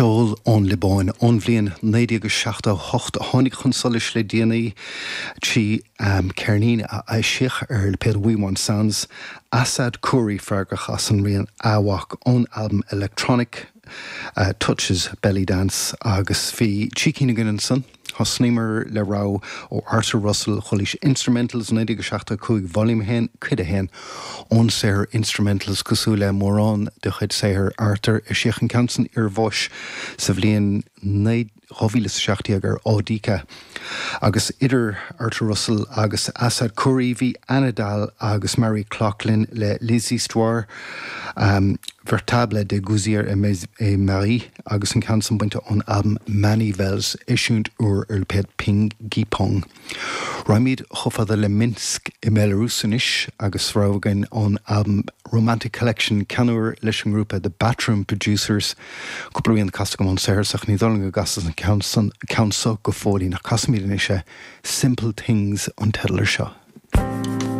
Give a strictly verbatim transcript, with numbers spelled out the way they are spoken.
Ceol ón Liobáin ón bhliain naoi déag seachtó hocht a tháinig chun solais le déanaí trí um, ceirnín a eisíodh ar lipéad We Want Sounds Assad Khoury freagrach as an rian Awak ón albam Electronic uh, Touches Belly Dance agus bhí trí cinn againn ansan. Thosnaíomar le rogha ó Arthur Russell Chuilís Instrumentals naoi déag seachtó cúig Volume haon cuid a haon ón saothar Instrumentals cosúil le mórán de chuid saothar Arthur eisíodh an ceann san iarbháis sa bhliain dhá mhíle is seacht déag ar Audika. Agus idir Arthur Russell agus Assad Khoury bhí Anna Dahl agus Mary Coughlan le Les Histoires um, Véritables de Gouzier et Marie agus an ceann san bainte ón albam Manivels eisiúint úr ar lipéad Ping Pong. Raghaimid chomh fada le Minsk i mBelarus anois agus rogha againn ón albam Romantic Collection ceann úr leis an ngrúpa The Bathroom Producers cúpla rian casta agam ón saothar ach ní dóigh liom go gcasas an ceann seo go fóillín ach casfaimid anois é Simple Things an teideal air seo.